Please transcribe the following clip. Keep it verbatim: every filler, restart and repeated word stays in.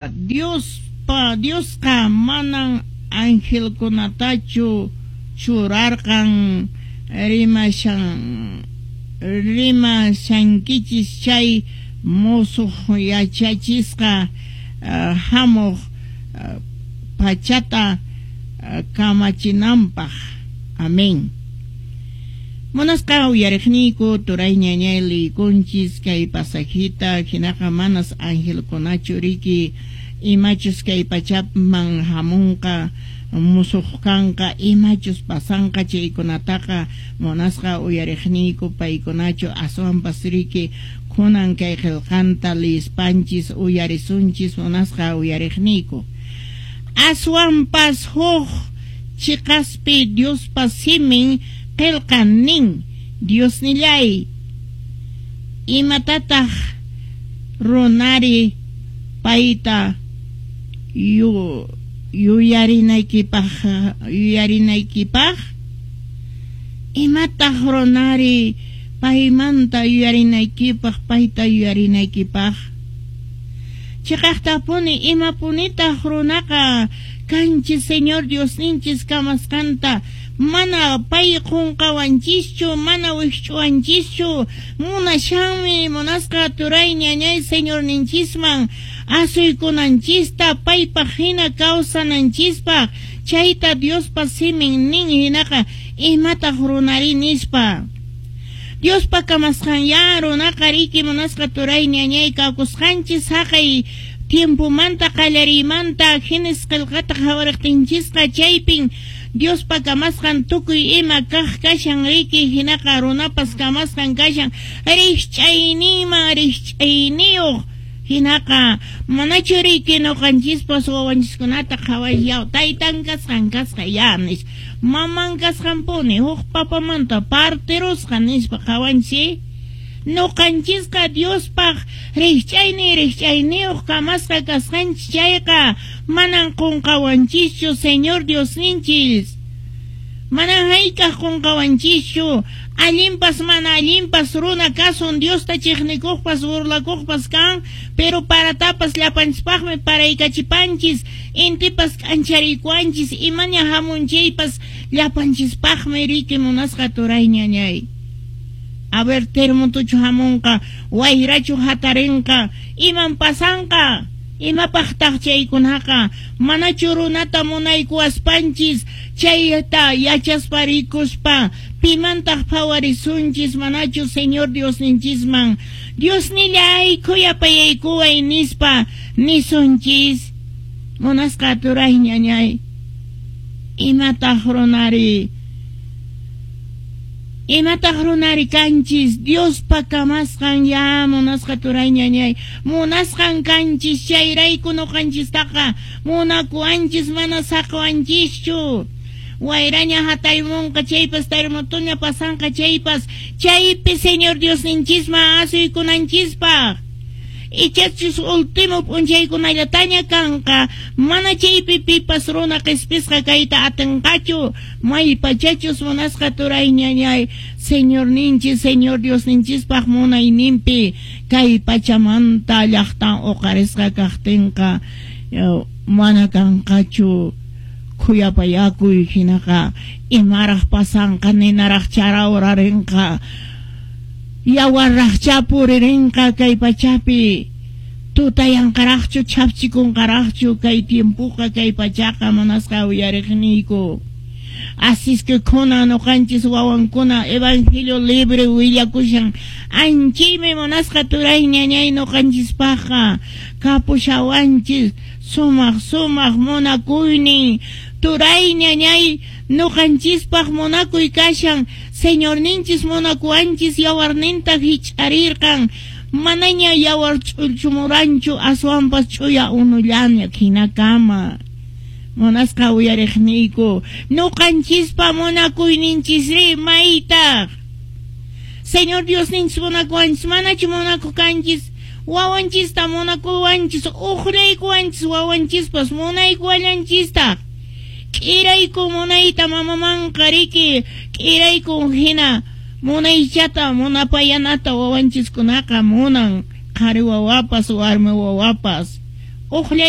Diospa Diosqa manan angelkunatachu churarqan rimashan rimashankichis chay mosoq yachachisqa uh, hamuq uh, pachata uh, kamachinanpaq. Amén. Munasqa uyariqniyku turay ñañay liykunchis kay pasajita hinaqa manas angelkunachu riki imachus kay pachaman hamunqa musuq kanqa imachus pasanqa chaykunataqa munasqa uyariqniyku paykunachu aswanpas riki kunan kay qillqanta liyispanchis uyarisunchis munasqa uyariqniyku aswanpas huk chiqaspi Diospa simin qillqan nin Diosnillay imatataq runari payta yu yuyarinaykipaq yuyarinaykipaq imataq runari paymanta yuyarinaykipaq payta yuyarinaykipaq chiqaqtapuni imapunitaq runaqa kanchis Señor Diosninchis kamasqanta mana pay qunqawanchischu mana wikch'uwanchischu munashanmi munasqa turay ñañay Señorninchisman asuykunanchista paypaq hina kawsananchispaq chayta Diospa simin nin hinaqa imataq runari nispa Diospa kamasqan ya runaqa riki munasqa turay ñañay kawkusqanchis haqay tiempomanta qallariymanta Génesis qillqata qhawariqtinchisqa chaypin Diospa kamasqan tukuy ima kaq kashan riki hinaqa runapas kamasqan kashan rikch'ayninman rikch'ayniyuq hinaqa manachu riki nuqanchispas wawanchiskunata qhawasyaw taytan kasqan kasqa ya nispa maman kasqanpuni huk papamanta partirusqa nispa qhawanchis nuqanchisqa Diospaq rikch'aynin rikch'ayniyuq kamasqa kasqanchis chayqa manan qunqawanchischu Señor Diosninchis manan hayk'aq qunqawanchischu allinpas mana allinpas runa kasun Diosta chiqnikuqpas burlakuqpas kan pero paratapas llapanchispaqmi paraykachipanchis intipas k'anchariykuwanchis imaña hamunchaypas llapanchispaqmi riki munasqa turay ñañay. A ver, terremotochu hamunqa, wayrachu hatarinqa, iman pasanqa, imapaqtaq chaykunaqa, manachu runata munaykuwaspanchis, chayta yachaspa rikuspa, pimantaq phawarisunchis, manachu Señor Diosninchisman, Diosnillay khuyapayaykuway nispa, nisunchis, munasqa turay ñañay, imataq runari, imataq runari kanchis Diospa kamasqan ya munasqa turay ñañay munasqan kanchis chayrayku nuqanchistaqa munakuwanchis mana saqawanchischu wayraña hataymunqa chaypas terremotoña pasanqa chaypas chaypi Señor Diosninchisman asuykunanchispaq ichachus último p'unchaykunallataña kanqa mana chaypi pipas runa qhispisqa kayta atinqachu maypachachus munasqa turay ñañay Señorninchis Señor Diosninchispaq munayninpi kay pachamanta llaqtan uqarisqa kaqtinqa mana kanqachu khuyapayakuy hinaqa imaraq pasanqa ninaraq charawrarinqa yawarraqcha puririnqa kay pachapi tutayanqaraqchu chhapchikunqaraqchu kay tiempoqa kay pachaqa munasqa uyariqniyku. Así es que kunan nuqanchis wawankuna evangelio libre willakushan anchaymi munasqa turay ñañay nuqanchispaqqa kapushawanchis sumaq sumaq munakuynin turay ñañay nuqanchispaq munakuy kashan Señorninchis munakuwanchis yawarninta hich'arirqan manaña yawar ch'ullchumuranchu aswanpas ch'uya unullaña hinakama munasqa uyariqniyku nuqanchispa munakuyninchisri maytaq Señor Diosninchis munakuwanchis manachu munakuq kanchis wawanchista munakuwanchis uqraykuwanchis wawanchispas munaykuwallanchistaq k'irayku munayta mamamanqa riki k'irayku hina munaychata munapayanata wawanchiskunaqa munan qhari wawapas warmi wawapas Uqllaykunata.